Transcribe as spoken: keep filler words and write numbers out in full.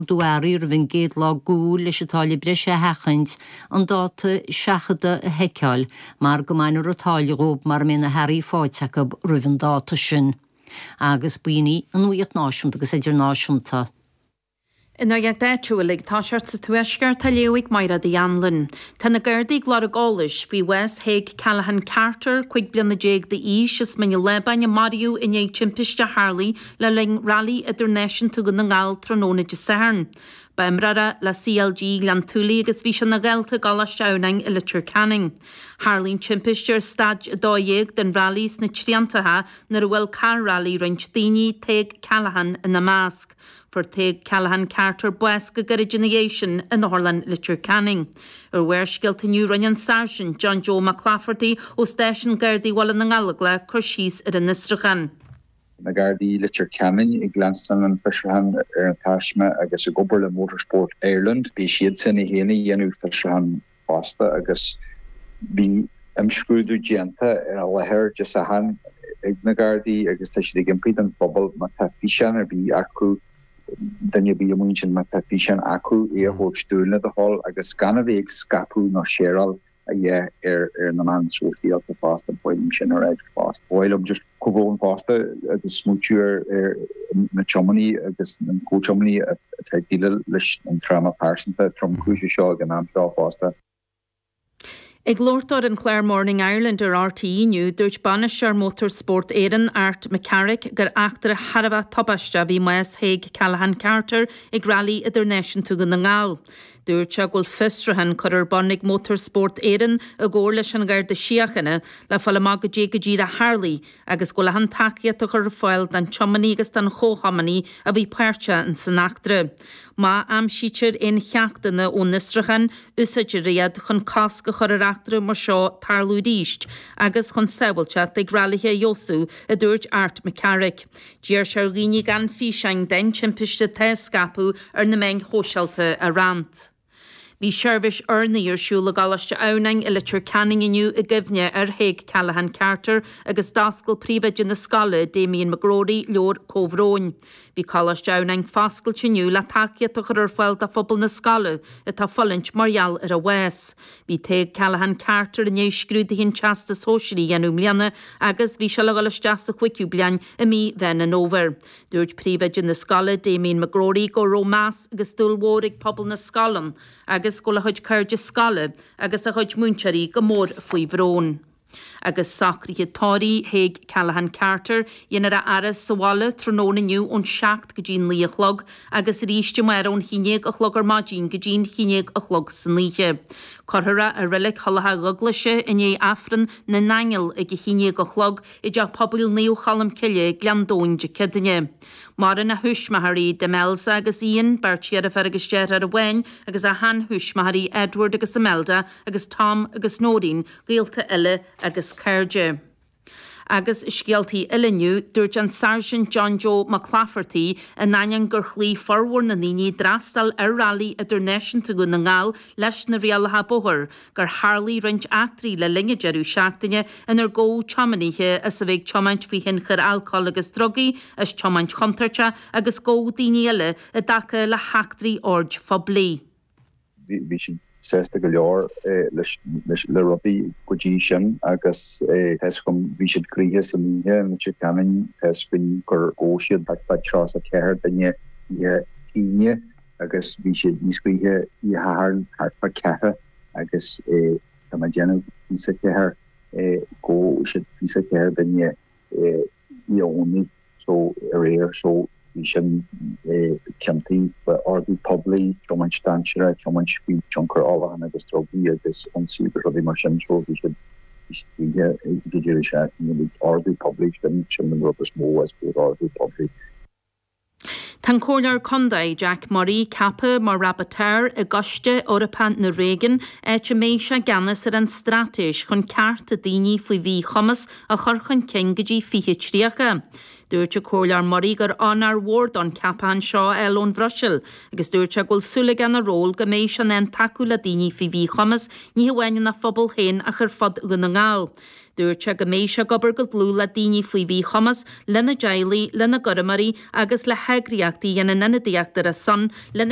Ordú earraí roimh an gcéad lá d'Iúil leis an táille breise a sheachaint, an dáta seachadta a sheiceáil mar go mbainfear an táille dhóibh mara mbeidh na hearraí faighte acu roimh an dáta sin. Agus b'in í an nuacht náisiúnta agus idirnáisiúnta. An nuacht áitiúil ag toiseacht sa Tuaisceart á léamh ag Máire Uí Anluain. Tá na Gardaí ag lorg eolais faoi bhás Thaidhg Callaghan Carter, cúig bliana déag d'aois, as Mín an Lábáin a maraíodh i ndiaidh timpiste a tharlaigh le linn Railí Idirnáisiúnta Dhún na nGall tráthnóna Dé Sathairn. Ba imreoir é le CLG Ghleann tSúilí agus bhí sé ina dhalta i gColáiste Adhamhnáin i Leitir Ceanainn. Tharlaigh an timpiste ar staid a dó dhéag den railí sna triantacha nuair a bhuail carr railí roinnt daoine, Tadhg Callaghan ina measc. Fuair Tadhg Callaghan Carter bás go gairid ina dhiaidh sin in Otharlann Leitir Ceanainn. Ar Bharrscéalta inniu rinne an Sáirsint John Joe Mac Laifeartaigh ó Stáisiún Gardaí Bhaile na nGallóglach cur síos ar an fhiosrúchán. Na Gardaí Leitir Ceanainn ag leanstan an fiosrúchán ar an taisme agus ag obair le Motorsport Ireland. Bhí siad sin a chéanna dhéanamh fiosrúchán fosta agus bhí imscrúdú déanta ar an láthair Dé Sathairn ag na Gardaí agus tá siad ag impí don phobal má tá físeán ar bith acu duine ar bith amuigh ansin má tá físeán acu é a thabhairt dúinn le do thoil agus gan a bheith ag scaipeadh nó séaráil a dhéanamh ar ar na meáin sóisialta fosta ba mhaith liom sin a rá fosta. Ba mhaith liom just comhbhrón fosta agus smaoitiú ar ar na tiománaí agus an comhtiománaí atá ag déileáil leis an tráma pearsanta tromchúiseach seo ag an am seo fosta. Ag labhairt dó ar an chlár Morning Ireland ar RTÉ inniu, dúirt bainisteoir Motorsport Éireann, Art McCarrick, gur eachtra thar a bheith tubaisteach a bhí i mbás Thaidhg Callaghan Carter ag Railí Idirnáisiúnta Dhún na nGall. Dúirt sé go bhfuil fiosrúchán curtha ar bun ag Motorsport Éireann i gcomhar leis an Gharda Síochána le fáil amach goidé go díreach a tharlaigh agus go bhfuil achan tacaíocht á chur ar fáil don tiománaí agus don chomhthiománaí a bhí páirteach in san eachtra. Má aimsítear aon cheachtanna ón fhiosrúchán, úsáidfear iad chun cosc a chur ar eachtra mar seo tarlú arís agus chun sábháilteacht ag railithe a fheabhsú, a dúirt Art McCarrick. D'iarr sé ar dhaoine gan físeáin den timpiste atá á scaipeadh ar na meáin shóisialta a roinnt. Bhí seirbhís urnaí ar siúl i gColáiste Adhamhnáin i Leitir Ceanainn inniu i gcuimhne ar Thaidhg Callaghan Carter agus d'oscail príomhoide na scoile, Damien McGrory, leabhar comhbhróin. Bhí Coláiste Adhamhnáin foscailte inniu le tacaíocht a chur ar fáil do phobal na scoile atá ag fulaingt mar gheall ar a bhás. Bhí Tadhg Callaghan Carter i ndiaidh scrúduithe an Teastais Shóisearaigh a dhéanamh i mbliana agus bhí sé le dhul isteach sa chúigiú bliain i mí Mheán an Fhómhair. Dúirt príomhoide na scoile, Damien McGrory, go raibh meas agus dúil mhór ag pobal na scoile ann agus go bhfuil a chuid cairde scoile agus a chuid múinteoirí go mór faoi bhrón. Agus socruithe tórraimh Thaidhg Callaghan Carter, déanfar a fhaire sa bhaile tráthnóna inniu ón seacht go dtí naoi a chlog agus arís amárach ón haon déag a chlog ar maidin go dtí an haon déag a chlog san oíche. Cuirfear é i Reilig Thulach Dhubhghlaise i ndiaidh Aifreann na nAingeal ag a haon déag a chlog i dTeach Pobail Naomh Cholm Cille, Gleann Domhain Dé Céadaoine. Maireann a thuismitheoirí Demelza agus Ian, beirt dheirféar agus deartháir amháin, agus a sheanthuismitheoirí Edward agus Imelda agus Tom agus Noreen, gaolta eile agus cairde. Agus i scéaltaí eile inniu, dúirt an Sáirsint John Joe Mac Laifeartaigh, in ainneoin gur chloígh formhór na ndaoine a d'fhreastail ar Railí Idirnáisiúnta Dhún na nGall leis na rialacha bóthair, gur tharlaigh roinnt eachtraí le linn an deireadh seachtaine inar gabhadh tiománaithe as a bheith ag tiomáint faoi thionchar alcóil agus drugaí, as tiomáint chontúirteach agus gabhadh daoine eile i dtaca le heachtraí oird phoiblí. Bhí siad sásta go leor leis le rudaí go dtí sin agus tá 'fhios agam bhí siad gnoitheach san oíche i Leitir Ceanainn, tá 'fhios againn gur ghabh siad thart fá tríocha ceathair duine oíche Aoine agus bhí siad níos gnoithí oíche Shathairn thart fá ceathrar agus tá mé ag déanamh fiche ceathair ghabh siad fiche ceathair duine oíche Dhomhnaigh so aréir so bhí sin ciontaithe faoi ordú poiblí, tiomáint dainséarach, tiomáint faoi tionchar ólacháin agus drugaí agus ionsaí agus rudaí mar sin so bhí siad bhí siad gnoitheach ag an deireadh seachtaine. Ordú poiblí sin sin an rud is mó I suppose ordú poiblí. Tá an Comhairleoir Contae, Jack Murray, ceaptha mar Rapporteur i gCoiste Eorpach na Réigiún, áit a mbeidh sé i gceannas ar an straitéis chun cearta daoine faoi mhíchumas a chur chun cinn go dtí fiche tríocha. Dúirt an Comhairleoir Murray gur onóir mhór dó an ceapachán seo a fháil ón Bhruiséil, agus dúirt sé go bhfuil súil aige ina ról go mbeidh sé in ann tacú le daoine faoi mhíchumas, ní hamháin ina phobal féin ach ar fud Dhún na nGall. Dúirt sé go mbeidh sé ag obair go dlúth le daoine faoi mhíchumas, lena dteaghlaigh, lena gcúramóirí agus le heagraíochtaí a dhéanann ionadaíocht ar a son lena